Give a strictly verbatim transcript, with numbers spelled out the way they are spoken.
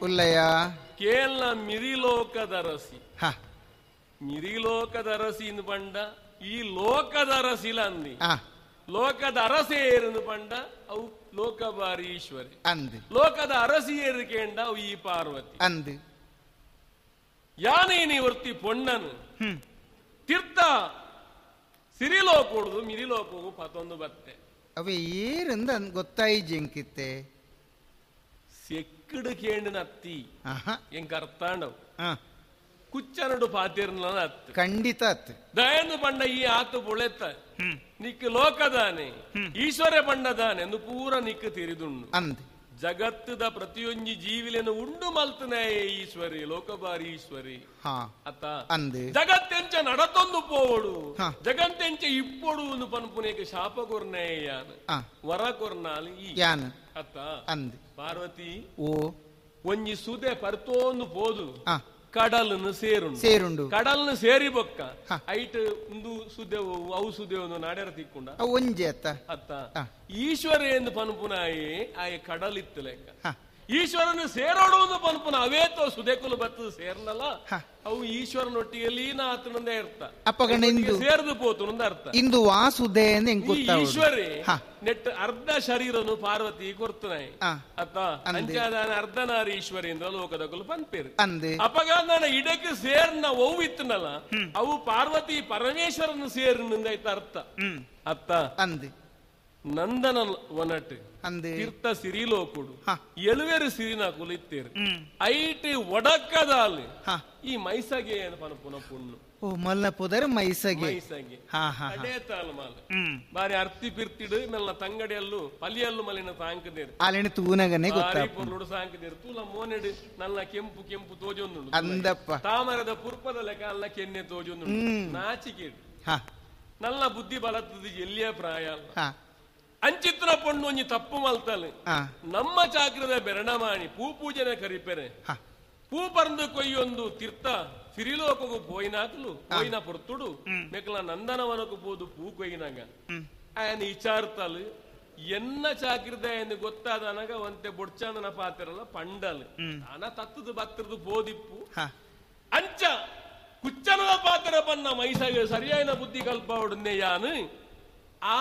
ಉಲ್ಲಯ ಕೇಲ್ನ ಮಿರಿಲೋಕದರಸಿ ಹ ಮಿರಿಲೋಕದರಸಿ ಇಂದು ಪಂಡ ಈ ಲೋಕದ ಅರಸಿಲ ಅಂದಿ ಆ ಲೋಕದ ಅರಸೇರಂದು ಪಂಡ ಅವು ಲೋಕಬಾರಿ ಈಶ್ವರಿ ಅಂದ್ ಲೋಕದ ಅರಸಿಯೇರು ಕೇಂಡ ಅವು ಈ ಪಾರ್ವತಿ ಅಂದ್ ಯಾನೇ ನಿವರ್ತಿ ಪೊಣ್ಣನು ಹ್ಮ್ ತೀರ್ಥ ಸಿರಿಲೋಕೊಡುದು ಮಿರಿಲೋಕವು ಪತೊಂದು ಬತ್ತೆ ಅವೆ ಏರಂದ ಗೊತ್ತಾಯಿ ಜಿಂಕಿತ್ತೆ ಸೆಕ್ಕಡು ಕೇಂಡಿನ ಅತ್ತಿ ಆಹಾ ಎಂಕ ಅರ್ಥಾಂಡವು ಆ, ಕುಚ್ಚನಡು ಪಾತಿರ್ನ ಅತ್ತು ಖಂಡಿತ ಅತ್ ದಯನು ಪಂಡ ಈ ಆತು ಬೊಳೆತ ನಿಕ್ ಲೋಕದಾನೆ ಈಶ್ವರ ಪಂಡದಾನೆ ಎಂದು ಪೂರ ನಿಕ್ ತಿರಿದುಂಡು ಅಂದ್ ಜಗತ್ತದ ಪ್ರತಿಯೊಂಜಿ ಜೀವಿಲೆನು ಉಂಡು ಮಲ್ತನೇ ಈಶ್ವರಿ ಲೋಕಬಾರಿ ಈಶ್ವರಿ ಹಾ ಅತ್ತ ಅಂದ್ ಜಗತ್ತೆಂಚ ನಡತೊಂದು ಪೋವಡು ಹಾ. ಜಗತ್ತೆಂಚ ಇಪ್ಪೊಡು ಒಂದು ಪನ್ಪುನೇಕ ಶಾಪ ಕೊರ್ನೇಯಾನ ಆ ವರ ಕೊರ್ನಾಲ್ ಈ ಯಾನ್ ಅತ್ತ ಅಂದ್ ಪಾರ್ವತಿ ಓ ಒಂಜಿ ಸುದೆ ಪರ್ತೋಂದು ಪೋದು ಆ ಕಡಲನ್ನು ಸೇರುಂಡು ಸೇರುಂಡು ಕಡಲ್ನ ಸೇರಿ ಬೊಕ್ಕ ಹಾ. ಐಟ್ ಉಂದು ಸುದೆವು ಅವು ಸುದೆವು ನಾಡ್ಯಾರ ತಿಕ್ಕೊಂಡ ಅವು ಒಂಜಿ ಅತ್ತ ಅತ್ತ ಹಾ. ಈಶ್ವರ ಎಂದು ಪನ್ಪುನಾಯೇ ಆಯ ಕಡಲಿತ್ತು ಲೆಕ್ಕ ಹಾ. ಈಶ್ವರನ ಸೇರೋಡು ಒಂದು ಪನ್ಪುನ ಅವೇತೋ ಸುದೆಕುಲು ಬತ್ತದ ಸೇರ್ನಲ್ಲ ಹಾ. ಅವು ಈಶ್ವರನೊಟ್ಟಿಗೆ ಲೀನ ಆತನಂದೇ ಇರ್ತ ಅಪ್ಪಗಣ ಇಂದು ಸೇರ್ದು ಪೋತುನಂದ ಅರ್ಥ ಇಂದು ವಾಸುದೆ ಎಂದು ಹೆಂಗ್ ಈ ಗೊತ್ತಾവുದು ಈಶ್ವರಿ ಹಾ. ನೆಟ್ ಅರ್ಧ ಶರೀರನು ಪಾರ್ವತಿ ಕೊರ್ತನಾಯಿ ಆ. ಅತ್ತ ಅಂದೆ. ಅಂಚಾದಾನ ಅರ್ಧನಾರಿ ಈಶ್ವರಿ ಇಂದ ಲೋಕದಕುಲು ಪನ್ಪೇರು ಅಂದ್ ಅಪಗಾಂದನ ಇಡಕ್ಕೆ ಸೇರ್ನ ಒವು ಇತ್ತನಲ್ಲ ಅವು ಪಾರ್ವತಿ ಪರಮೇಶ್ವರನ ಸೇರ್ನಿಂದ ಅರ್ಥ ಅತ್ತ ಅಂದ್ ನಂದನ ವನಟ್ ಅಂದ್ ತೀರ್ಥ ಸಿರಿಲೋಕುಡು ಹಾ. ಎಳುವೆರು ಸಿರಿನ ಕುಲಿತ್ತೇರು ಐಟ್ ಒಡಕ್ಕದಾಲ್ ಹಾ. ಈ ಮೈಸಗೆ ಪನಪುನ ಪುಣ್ಣು ಓ ಮಲ್ಲ ಪುದರ್ ಮೈಸಗೆ ಮೈಸಗೆ ಹಾ ಹಾ ಹಾ. ಕಡೇತಾಲ್ ಮಾಲ್ ಹ್ಮ್ ಬಾರಿ ಅರ್ತಿ ಪಿರ್ತಿಡು ಮೆಲ್ಲ ತಂಗಡಿಯಲ್ಲು ಪಲಿಯಲ್ಲು ಮಲಿನ ತಾಂಕದೇರು ಆಲಿನ ತೂನಗನೆ ಬಾರಿ ಗೊತ್ತಾಪ ಪೊರ್ಲುಡು ಸಾಂಕದೇರು ತೂಲ ಮೋನೆಡು ನನ್ನ ಕೆಂಪು ಕೆಂಪು ತೋಜೊಂದುಂಡು ಅಂದಪ್ಪ ತಾಮರದ ಪುರ್ಪದ ಲೆಕ್ಕ ಅಲ್ಲ ಕೆನ್ನೆ ತೋಜೊಂದುಂಡು ನಾಚಿಕೆ ಹಾ ನನ್ನ ಬುದ್ಧಿ ಬಲತ್ತದ ಎಲ್ಲಿಯ ಪ್ರಾಯ ಅಲ್ಲ ಹಾ ಅಂಚಿತ್ರ ಪೊಣ್ಣು ಒಂಜಿ ತಪ್ಪು ಮಲ್ತಲೆ ಆ ನಮ್ಮ ಚಾಕ್ರದ ಬೆರಣಮಾಣಿ ಪೂ ಪೂಜನೆ ಕರಿಪೆರೆ ಹಾ ಪೂ ಪರ್ದು ಕೊಯ್ಯೊಂದು ತೀರ್ಥ ಸಿರಿಲೋಕಗೂ ಪೋಯಿನಾಕ್ಲು ಪೋಯಿನ ಪೊರ್ತುಡು ಮೆಕ್ಲ ನಂದನವನకు ಪೋದು ಪೂ ಕೊಯ್ಯಿನಾಗ ಆಯನ ವಿಚಾರ್ತಲು ಎನ್ನ ಚಾಕ್ರದ ಎಂದು ಗೊತ್ತಾದನಗ ಒಂತೆ ಬೊಡ್ಚಾಂದನ ಪಾತಿರಲ್ಲ ಪಂಡಲ್ ಅನ ತತ್ತದು ಬತ್ತರದು ಪೋದಿಪ್ಪು ಹಾ ಅಂಚ ಕುಚ್ಚನದ ಪಾತ್ರ ಬನ್ನ ಮೈಸಾಗ ಸರಿಯಾದ ಬುದ್ಧಿ ಕಲ್ಪವಡನ್ನೇ ಯಾನು ಆ